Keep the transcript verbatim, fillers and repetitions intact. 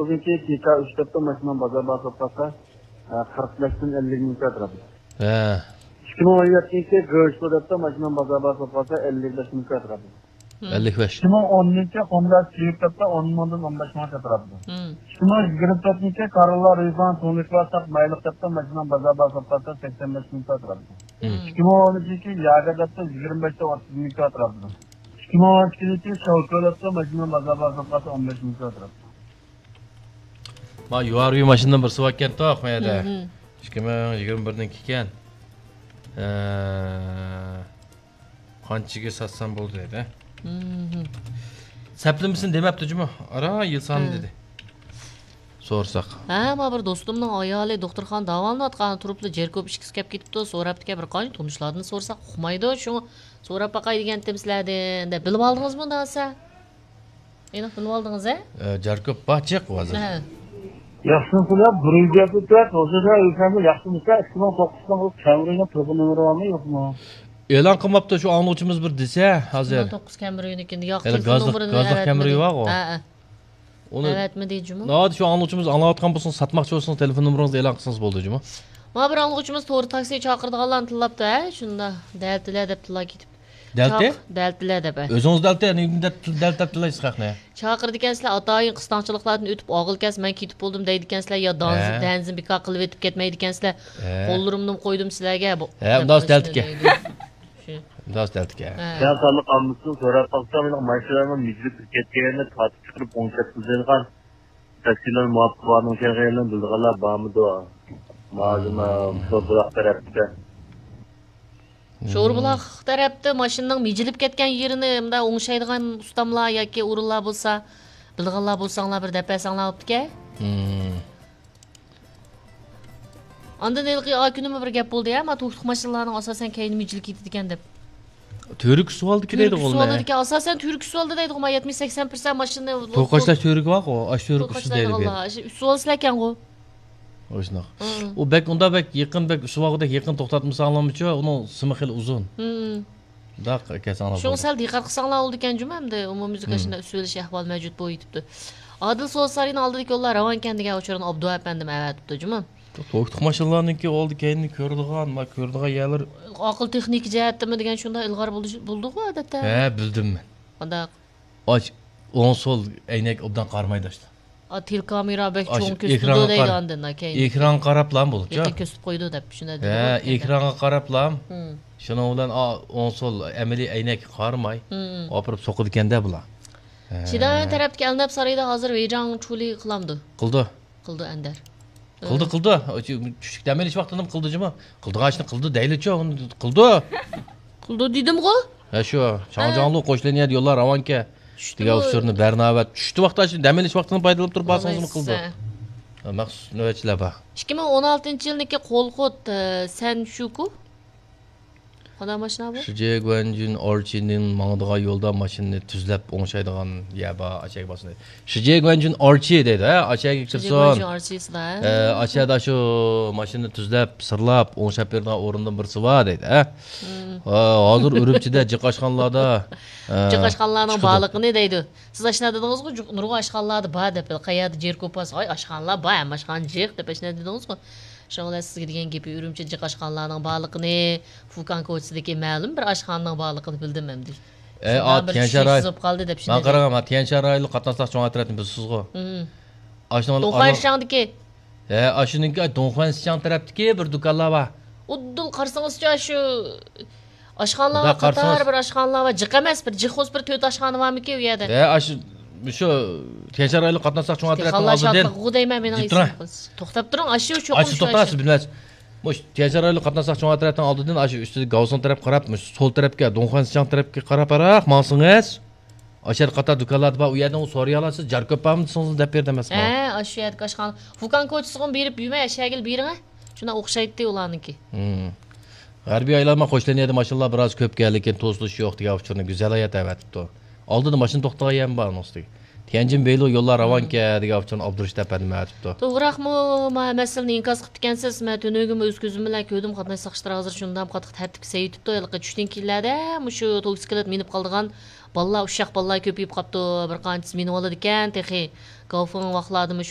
بۈگۈنكى تىكا ئۈچ دەپتۇ ماشىنىنىڭ بازار باھاسى بولۇپ قالسا، ئە، قىرىق بەشتىن ئەللىك مىڭ كىراتتى. ھە. ئىككى مىڭ ئون يەتتىنچى گۆشلو دەپتۇ ماشىنىنىڭ بازار باھاسى بولۇپ قالسا، ئەللىك بەش مىڭ كىراتتى. ئەللىك بەش. ئىككى مىڭ ئونىنچى خوندا سىۋىك دەپتۇ ئون مىڭدىن ئون بەش مىڭ كىراتتى. ئىككى مىڭ يىگىرمە تۆتىنچى كارلا رىفان تونلۇق ۋاساق مايلىق دەپتۇ ماشىنىنىڭ بازار باھاسى بولۇپ قالسا، سەكسەن بەش مىڭ كىراتتى. ئىككى مىڭ ئون ئۈچىنچى ياگا دەپتۇ يىگىرمە بەشتە ئوتتۇز مىڭ كىراتتى. ئىككى مىڭ ئون ئىككىنچى شاۋكۆل دەپتۇ ماشىنىنىڭ بازار باھاسى بولۇپ قالسا، ئون بەش مىڭ كىراتتى. ما يۇ ئار ۋى ماشىنىدىن بىرسى باركەنتۇق ما يەردە. ئىككى مىڭ يىگىرمە بىرنىڭكى ئىكەن. ھە. قانچىگە ساتسام بولدى دەيدۇ. سەپلىمىسىنى دېمەپتۇ جۇمۇ. ئارا يىل سانى دېدى. سورىساق. ھە، ما بىر دوستۇمنىڭ ئايالى دوختۇرخانىدا داۋالىنىۋاتقان، تۇرۇپلا جېركوپ ئىككىسى كەپ كېتىپتۇ، سوراپتىكەن، بىر قانچە تونۇشلاردىن سورىساق ئۇقمايدۇ، شۇڭا سوراپ باقاي دېگەنتىم سىلەردىن دەپ. بىلىۋالدىڭىزمۇ داسە؟ ئېنىق بىلىۋالدىڭىز ھە؟ ئە، جاركوپ بار جىق ھازىر. ھە. ياخشىمۇ سىلەر؟ بىر يۈز يەتمىش تۆت، ھازىردا ئۆلكەمدە ياخشىمۇسا، ئىككى مىڭ توققۇزدىن قىلىپ كەمرىنىڭ تېلېفون نومۇرى بارمۇ يوقمۇ؟ ئېلان قىلماپتۇ، شۇ ئاڭلىغۇچىمىز بىر دېسە ھازىر. ئىككى مىڭ توققۇز كەمرىنىڭكىنى ياق، ھېلى تېلېفون گازلىق، نومۇرىنى گازلىق ئەۋەتمىدى. كەمرى بارغۇ. ھە، ھە. ئۇنى ئەۋەتمىدى جۇمۇ. ناۋادا شۇ ئاڭلىغۇچىمىز ئاڭلاۋاتقان بولسىڭىز، ساتماقچى بولسىڭىز، تېلېفون نومۇرىڭىزنى ئېلان قىلسىڭىز بولدى جۇمۇ. مانا بىر ئاڭلىغۇچىمىز توردا تاكسى چاقىرىدىغانلارنى تىللاپتۇ ھە، شۇنداق دەلتىلە دەپ تىللاپ كېتىپتۇ. دەلتە؟ چاق-، دەلتىلە دەپ، ھە. ئۆزىڭىز دەلتە، نېمىدىن دەپ، دەلتە دەپ تىللايسىز خەقنى؟ چاقىرىدىكەنسىلەر، ئاتايىن قىستاڭچىلىقلاردىن ئۆتۈپ ئاغىل كەلسە مەن كېتىپ بولدۇم دەيدىكەنسىلەر، يا دانزا-، ھە. دەنزىنى بىكار قىلىۋېتىپ كەتمەيدىكەنسىلەر. ھە. قوللىرىمنىمۇ قويدۇم سىلەرگە. بۇ، ھە، دەپ ئۇنداق ماشىنا دەلتىكەن. دەيدۇ. شۇ. ئۇنداق دەلتىكەن. ھە. كەڭ سانلىق ئاممىسىدىن سوراپ باقسام، مېنىڭ ماشىنامنىڭ مىجىلىپ كەتكەنلىرىنى تارتىپ چىقىرىپ ئوڭشاپ تۇرىدىغان تاكسىلار مۇۋاپىق بارمۇ كەلگەنلەرنى بىلىدىغانلار بارمىدۇ؟ مازىما، مم. شۇ بۇلاق تەرەپتە. شوربۇلاق تەرەپتە ماشىنىنىڭ مىجىلىپ كەتكەن يېرىنى مۇنداق ئوڭشايدىغان ئۇستاملار ياكى ئورۇنلار بولسا، بىلىدىغانلار بولساڭلار بىر دەپ بەرسەڭلار بوپتىكەن. مم. ئاندىن ھېلىقى ئاكۈنىمۇ بىر گەپ بولدى ھە، ما توك-، توك ماشىنىلارنىڭ ئاساسەن كەينى مىجىلىپ كېتىدىكەن دەپ. تۈۋرۈك ئۈستىۋالدى كېلەيدىغۇ ئۇلار. ئۈستىۋالدى دېگەن، ئاساسەن تۈۋرۈك ئۈستىۋالدى دەيدىغۇ، ما يەتمىش سەكسەن پىرسەنت ماشىنىنى توك قاچىلاش تۈۋرۈكى بارغۇ، ئاشۇ تۈۋرۈك ئۈستىدە دەيدۇ. ئۈستىۋالسىلەركەنغۇ. ئاشۇنداق. ئۇ بەك، ئۇنداق بەك يېقىن، بەك ئۈستىۋالغۇدەك يېقىن توختاتمىساڭلارمۇچۇ، ئۇنىڭ سىمى خېلى ئۇزۇن. مۇنداق كەلسەڭلار شۇڭا بولىدۇ. سەل دىققەت قىلساڭلار بولىدىكەن جۇمۇ، ئەمدى ئومۇميۈزلۈك ئاشۇنداق ئۈستىۋېلىش ئەھۋالى مەۋجۇت بولۇۋېتىپتۇ. ئادىل سودا سارىيىنىڭ ئالدىدىكى يوللار راۋانكەن دېگەن ئۇچۇرنى ئابدۇ ئەپەندىم ئەۋەتىپتۇ جۇمۇ. توك ماشىنىلارنىڭكى ئالدى كەينىنى كۆرىدىغان، ما كۆرىدىغان يەرلىرى. ئاقىل تېخنىكا جەھەتتىمۇ دېگەن شۇنداق ئىلغار بولدى، بولدىغۇ ئادەتتە. ھە، بىلدىم مەن. قانداق؟ ئاچ، ئوڭ سول ئەينەك ئوبدان قارىمايدۇ ئاشۇ. ئا، تېلېكامېرا بەك ئاشۇ چوڭ كۆرسىتىدۇ ئېكرانغا دەيدۇ قار-، ئاندىن، ھە، كەينىدىكى. ئېكرانغا قاراپلا بولىدۇ. يېقىن كۆرسىتىپ قويىدۇ دەپ شۇنداق دېدىغۇ ھە، ئەپەندىم. ئېكرانغا قاراپلا. شۇنىڭ بىلەن ئا-، ئوڭ سول ئەمەلىي ئەينەككە قارىماي ئاپىرىپ سوقىدىكەن-دە بۇلار. ھە. شىداۋەن تەرەپتىكى ئەلنەپ سارىيىدا ھازىر ۋېيجاڭ چۇلى قىلامدۇ؟ قىلدى. قىلدى ئەندەر. قىلدى، قىلدى. چۈشلۈك دەم ئېلىش ۋاقتىدا قىلدى جۇمۇ. قىلدىغان ئىشنى قىلدى دەيلىچۇ، قىلدى. قىلدى دېدىمغۇ. ھە، شۇ. چاڭجاڭلۇ قوشلىنىيەدە يوللار راۋانكەن دېگەن ئۇچۇرنى بەرناۋەت چۈشتى ۋاقتى ئاشۇ دەم ئېلىش ۋاقتىنى پايدىلىنىپ تۇرۇپ بارسىڭىزمۇ قىلدى. ھە، مەخسۇس نۆۋەتچىلەر بار. ئىككى مىڭ ئون ئالتىنچى يىلدىكى قولخوت، ئە، سەنشۇكۇ؟ قانداق ماشىنا بۇ؟ شىجيې گۇەنجۈن ئارچىنىڭ ماڭىدىغان يولدا ماشىنىنى تۈزلەپ ئوڭشايدىغان يەر بار، ئاچەگە بارسۇن دەيدۇ. شىجيې گۇەنجۈن ئارچى دەيدۇ، ھە، ئاچەگە كىرسۇن. شىجيې گۇەنجۈن ئارچىسىدا، ھە. ھە، ئاچەدە شۇ ماشىنىنى تۈزلەپ، سىرلاپ، ئوڭشاپ بېرىدىغان ئورۇندىن بىرسى بار دەيدۇ، ھە. ھە، ھازىر ئۈرۈمچىدە جىق ئاشخانىلاردا، ھە، جىق ئاشخانىلارنىڭ چىقىدۇ. بارلىقىنى دەيدۇ. سىز ئاشۇنداق دېدىڭىزغۇ، جۇق-، نۇرغۇن ئاشخانىلاردا بار دەپ، قەيەردە جېركوپ بارسا، ئاي، ئاشخانىلار بار، ھەممە ئاشخانا جىق دەپ ئاشۇنداق دېدىڭىزغۇ. شۇنىڭ بىلەن سىزگە دېگەن گېپى، ئۈرۈمچىدە جىق ئاشخانىلارنىڭ بارلىقىنى، فۇكان كوچىسىدىكى مەلۇم بىر ئاشخانىنىڭ بارلىقىنى بىلدىم ئەمدى. ئەي، شۇنداق بىر تيەنشان چۈشىنىكسىز رايون. بولۇپ قالدى دەپ ماڭا شۇنداق قاراڭ، دېدىم. ما تيەنشان رايونلۇق قاتناشلار چوڭ ئەترەتنى بىلىسىزغۇ؟ ئاشۇنىڭ دۇڭخۇەنشىچاڭدىكى. ھە، ئاشۇنىڭكى دۇڭخۇەنشىچاڭ تەرەپتىكى بىر دۇكانلار بار. ئۇدۇل قارىسىڭىزچۇ، شۇ ئاشخانىلار بار، قاتار بىر ئاشخانىلار بار، جىق ئەمەس، بىر جىق بولسا بىر تۆت ئاشخانا بارمىكىن ئۇ يەردە؟ ھە، ئاشۇ، شۇ تيەنشان رايونلۇق قاتناشلار چوڭ ئەترەتنىڭ ئالدىدىن. دېھقانلار شادلىقىغۇ دەيمەن، مېنىڭ ئېسىمگە. توختاپ تۇرۇڭ، ئاشۇ چوقۇم ئاشۇ شۇ توختاڭ، ئاشۇ. سىز بىلمەيسىز. مۇشۇ تيەنشان رايونلۇق قاتناشلار چوڭ ئەترەتنىڭ ئالدىدىن ئاشۇ ئۈستىدە گاۋسىڭ تەرەپ قاراپ، مۇشۇ سول تەرەپكە، دۇڭخۇەنشىچاڭ تەرەپكە قاراپ، ئاراق ماڭسىڭىز. ئاشۇ يەردە قاتار دۇكانلار بار، ئۇ يەردىن ئۇ سورىيالا، سىز جاركوپ بارمۇ دېسىڭىز دەپ بېرىدۇ ئەمەس. ھە، ئاشۇ يەردىكى ئاشخانا. فۇكان كوچىسىغىمۇ بېرىپ يۈرمەي، ئەشەگىلا بېرىڭە. شۇنداق ئوخشايتتى ئۇلارنىڭكى. غەربىي ئايلانما قوشلىنىيەدە ماشىنىلار بىراز كۆپ ئىكەنلىكىن، توسۇلۇش يوق دېگەن ئۇچۇرنى گۈزەل ھايات ئەۋەتىپتۇ. ئالدىدا ماشىنا توختىغان يەرمۇ بار ئۇنىڭ ئۈستىگە. تيەنجىن بېيلۇ يوللار راۋانكەن دېگەن ئۇچۇرنى ئابدۇرېشىت ئەپەندىم ئەۋەتىپتۇ. توغراقمۇ، ما مەسىلىنى ئىنكاس قىپتىكەنسىز. مەن تۈنۈگۈنمۇ ئۆز كۆزۈم بىلەن كۆردۈم، قاتناش ساقچىلىرى ھازىر شۇنداق قاتتىق تەرتىپكە سېلىۋېتىپتۇ. ھېلىقى چۈشتىن كېيىنلەردە مۇشۇ توكسىكلىت مىنىپ قالىدىغان بالىلار، ئۇششاق بالىلار كۆپىيىپ قاپتۇ. بىر قانچىسى مىنىۋالىدىكەن تېخى. گاۋفېڭ ۋاقلاردا مۇشۇ